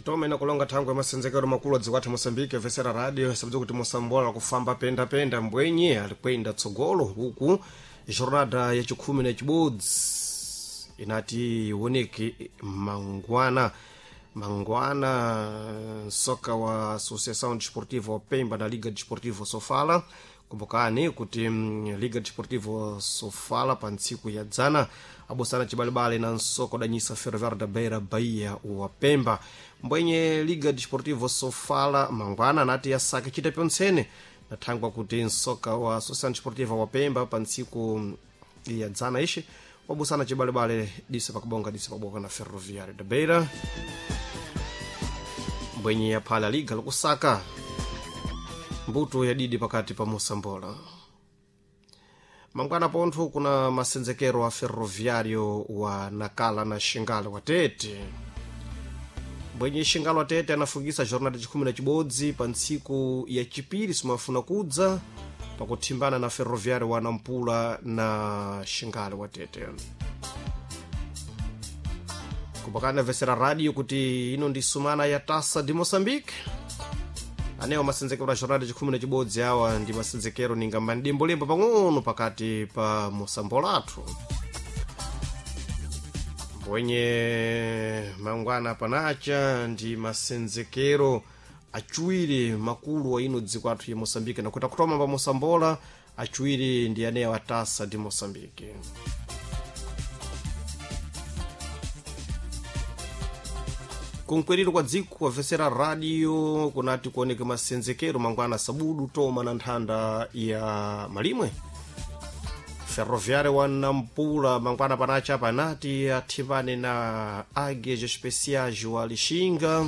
Titome na kulonga thangwe masenzekero makulu adzikwatha Moçambique vesera radio sabudza kuti mosambola kufamba penda-penda mbwenye alikwenda tsogolo huku jornada ya chikhumi na chibodzi inati ioneke mangwana mangwana nsoka wa Associação Desportiva Pemba na Liga Desportiva Sofala. Kumbukani kuti Liga Desportiva Sofala pa ntsiku ya dzana abosana cibalibale na nsoko danyisa Ferroviário da Beira Bahia wa Pemba. Mbwenye Liga Desportiva Sofala mangwana anati yasaka chita pyontsene nathangwa kuti nsoka wa Associação Desportiva wa Pemba pa ntsiku ya dzana ishi wabusana cibalibale dise pakubonga dise paboka na Ferroviário da Beira. Mbwenye yaphala liga lokusaka mbuto yadidi pakati pa mosambola. Mangwana pontho kuna masenzekero a Ferroviário wa Nakala na Xingale wa Tete. Mbwenye Xingale wa Tete anafungisa jornada chikhumi na chibodzi pa ntsiku ya chipiri simafuna kudza pakuthimbana na Ferroviário wa Nampula na Xingale wa Tete. Kumbukani vesera radio kuti ino ndi sumana ya Taça de Moçambique. Anewa masenzekero a jornada chikhumi na chibodzi awa ndi masenzekero ningamba ndimbolemba pang'ono pakati pa mosambolathu. Mbwenye mangwana panacha ndi masenzekero achiwiri makulu wa ino dziko athu ya Moçambique nakuti akutoma pa mosambola achiwiri ndi anewa Taça de Moçambique. Kunkweriro kwa dziko wavesera radio kunati kuoneke masenzekero mangwana sabudu toma na nthanda ya malimwe. Ferroviário wa Nampula mangwana panacha panati athimbane na Águias Especiais wa Lixinga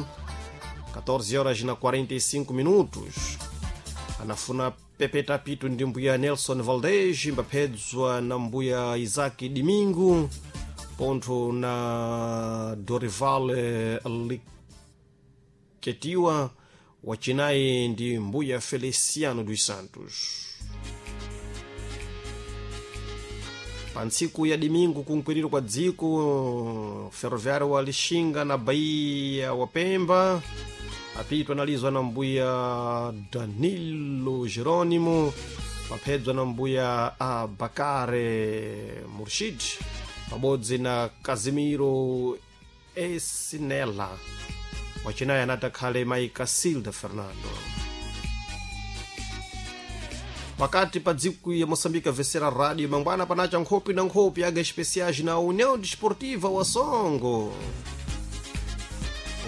14 horas na 45 minutos. Anafuna pepeta pitu ndi mbuya Nelson Valdez mbaphedzwa na mbuya Isaac Domingo pontho na Dorival Liketiwa wacinayi ndi mbuya Feliciano dos Santos. Pa ntsiku ya domingo kunkwiriro kwa dziko Ferroviário wa Lixinga na Bahia wa Pemba apitwa analizwa na mbuya Danilo Jerônimo paphedzwa na mbuya Abakare Murshid pabodzi na Casimiro Esinela wacinayi anati akhale mayi Casilda Fernando. Pakati pa dziko ya Moçambique vesera radio mangwana panacha nkhopi na nkhopi aga especiais na União Desportiva wa Songo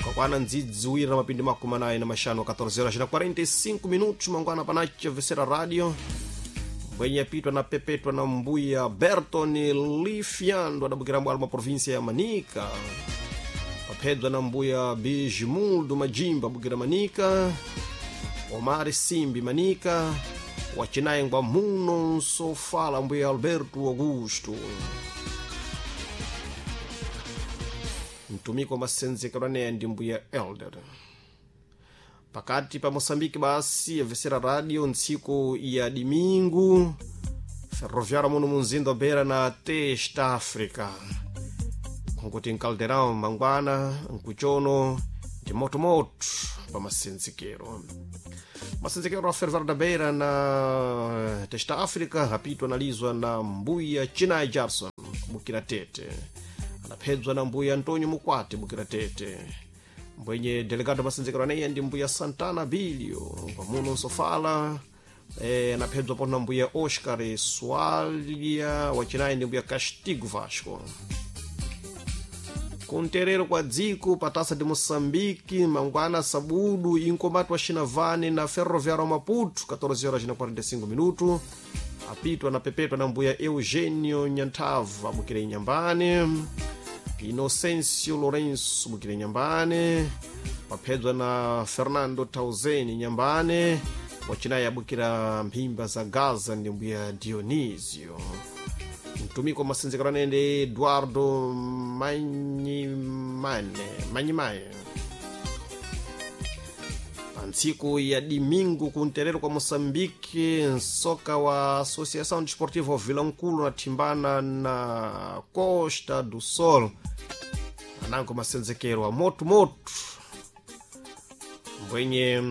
ukakwana ndzidzi wira na mapindi makumi anayi na maxanu 14 horas na 45 minutos mangwana panacha vesera radio mbwenye apitwa na pepetwa na mbuya Berton Lifiando adabukira mbwalo mwa província ya Manica paphedzwa na mbuya Bijimuldo Majimba abukira Manica Omar Simbi Manica wacinayi ngwa muno nsofala mbuya Alberto Augusto. Mtumiki wa masenzekero aneya ndi mbuya Elder. Pakati pa Moçambique basi yavesera radio ntsiku ya domingo Ferroviário muno munzinda beira na Testa África nkuti nkaldeirão mangwana nkuchono ndi motomoto pa masenzekero. Masenzekero a Ferroviário da Beira na Testa África apitwa analizwa na mbuya Chinai Jarson bukira Tete anaphedzwa na mbuya Antonio Mukwati bukira Tete. Mbwenye delegado masenzekero aneya ndi mbuya Santana Bilio pamuno nsofala anaphedzwa pona mbuya Oscar Swalia wacinayi ndi mbuya Castigo Vasco. Kunterero kwa dziko patasa de Moçambique mangwana sabudu inkombati wa Xinavane na Ferroviário Maputo 14 horas na 45 minutos apitwa na pepetwa na mbuya Eugenio Nyantava bukira Inhambane Inocêncio Lourenço bukira Inhambane paphedzwa na Fernando Tauzeni Inhambane wacinayi abukira mphimba za Gaza ndi mbuya Dionísio. Mtumiki wa masenzekero anene Eduardo Manyimaye. Pa ntsiku ya domingo kunterero kwa Moçambique nsoka wa Associação Desportiva Vilankulo nathimbana na Costa do Sol anango masenzekero a motomoto. Mbwenye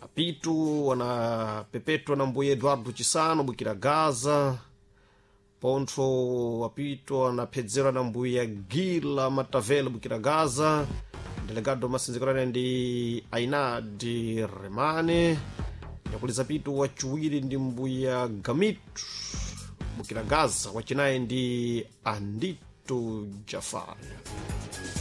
apitu wanapepetwa na mbuye Eduardo Chisano bwikira Gaza. Pontho apito anaphedzerwa na mbuya Gila Matavela bwikira Gaza. Delegado masinzikolane ndi Ainadi Remane. Yakuliza pitu wachiwiri ndi mbuya Gamitu bwikira Gaza, wachinayi ndi Andito Jafari.